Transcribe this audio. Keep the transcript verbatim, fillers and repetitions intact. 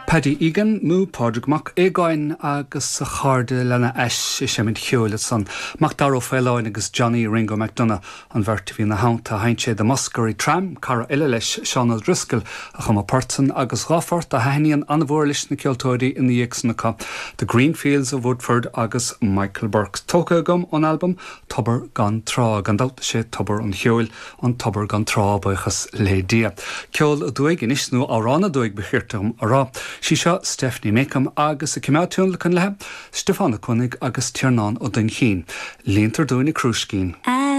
Paddy Egan nó Pádraig Mac Aogáin agus a chairde lena ais i seimid cheoil san Macdara Ó Faoláin agus Johnny Ringo McDonagh an bheirt a bhí ina theannta sheinn sé The Muskerry Tram cara eile leis Seán O'Driscoll a chum an port san agus dhá phort a thaitníonn an-mhór leis na ceoltóirí ina dhiaidh san acu The Green Fields of Woodford agus Michael Burke. Tógtha agam ón albam Tobar gan Trá gan dabht sé tobar an cheoil an tobar gan trá buíochas le Dia. Ceol aduaidh anois nó amhrán aduaidh ba cheart dom a rá. Sí seo Stephanie Makeham agus a cimeátún le chun lethe, Stiofán Ó Cuanaigh agus Tiarnán Ó Duinnchinn. Líontar dúinn an crúiscín. And